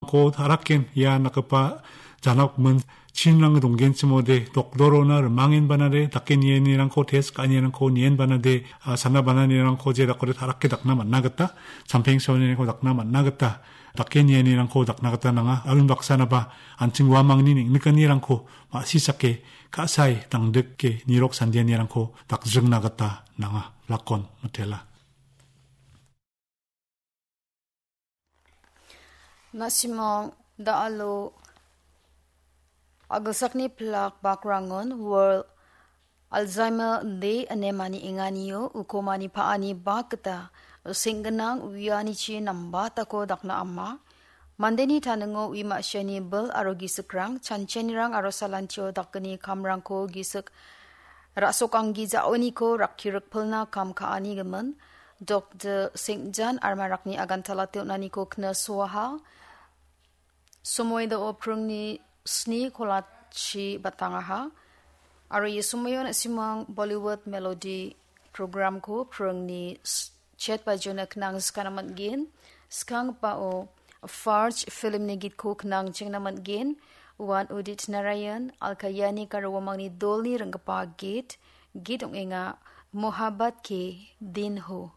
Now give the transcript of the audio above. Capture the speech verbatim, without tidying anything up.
Ko taraken ia nakgipa janakmin chinrang donggenchimode, doktorona rimangenbanade, dake nienirangko test ka·anirangko nienbanade, a, sana bananirangko je dakode tarake dakna man·a gita, champeng saonirangko dakna man·a gita, dake nienirangko dakna gita nanga. Aro unbaksanaba an·ching uamangni neng·nikanirangko ma·sisake ka·sae dangdike nirok sandianirangko dakjringna gita nanga. Lakon mitela. Na·simang da·alo agilsakni pilak bakrangon World Alzheimer Day ine manienganio ukomani pa·ani bak gita seng·ginang uianichi nambatako dakna ama. Mandeni taningo ui ma·siani bil aro gisikrang, chanchanirang aro salantio dakgni kamrangko gisik ra·sokanggi ja·oniko rakki rikpilna kam ka·ani gimin. Doktor Saint John Armarakni agantala teonaniko kna suaha. Somoidao pringni sni kolachi batangaha. Aro ia somoio na·simang Bollywood Melody programko pringni s-, chet bajiona knang skana man·gen. Skangpao Farj filmni gitko knang chengna man·gen. Uan Udit Narayan, Alka Yanik aro uamangni dolni ringgipa git, git ong·enga Mohabbat Ke Din Ho.